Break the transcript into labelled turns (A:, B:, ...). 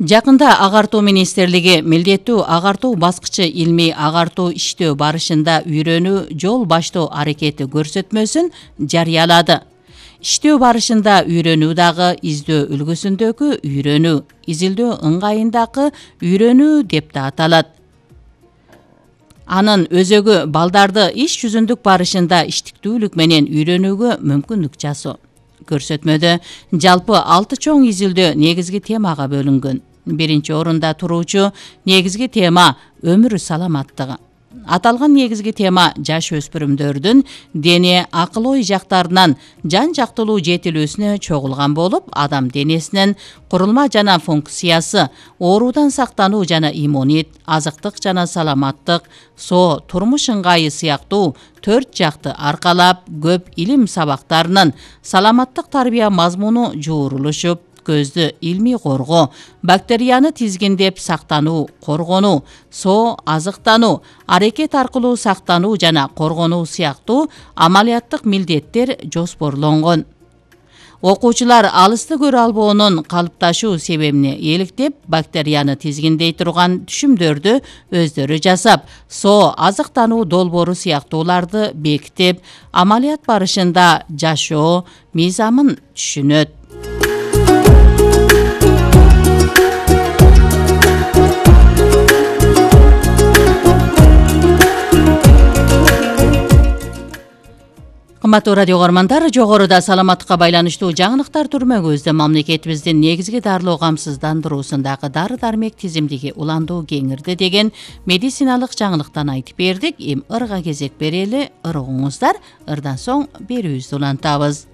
A: Жакында Агартуу министрлиги милдеттүү агартуу баскычы илмий агартуу иштөө барышында үйрөнүү жол баштоо аракети көрсөтмөсүн жарыялады. Иштөө барышында үйрөнүү дагы издөө үлгүсүндөгү үйрөнүү, изилдөө ыңгайындагы үйрөнүү деп да аталат. Анын өзөгү балдарды иш жүзүндүк барышында иштиктүүлүк менен үйрөнүүгө мүмкүндүк жасоо. Көрсөтмөдө жалпы 6 чоң изилдөө негизги темага бөлүнгөн. Биринчи орунда туруучу негизги тема өмүр саламаттыгы. Аталган негизги тема жаш өспүрүмдөрдүн дене, акыл-ой жактарынан жан-жактылуу жетилүүсүнө чогулган болуп, адам денесинин курулма жана функциясы, оорудан сактануу жана иммунит, азыктык жана саламаттык, соо, турмуш ыңгайы сыяктуу 4 жакты аркалап көп илим сабактарынын саламаттык тарбия мазмуну жуурулушуп, көздү илмий коргоо, бактерияны тизгиндеп сактануу, коргонуу, соо, азыктануу, аракет аркылуу сактануу жана коргонуу сыяктуу амалияттык милдеттер жоспорлонгон. Окуучулар алысты көрө албоонун калыпташуу себебине эликтеп, бактерияны тизгиндей турган түшүмдөрдү өздөрү жасап, соо, азыктануу долбоору сыяктууларды бекитип, амалият барышында жашоо мыйзамын түшүнөт. Кымбаттуу радио көрөрмандар, жогоруда саламаттыкка байланыштуу жаңылыктар түрмөгүбүздө мамлекетибиздин негизги дарылоо камсыздандыруусундагы дары-дармек тизимдиги уландуу кеңирди деген медициналык жаңылыктан айтып бердик. Ырга кезек берели, ыр угуңуздар. Ырдан соң берүүбүздү улантабыз.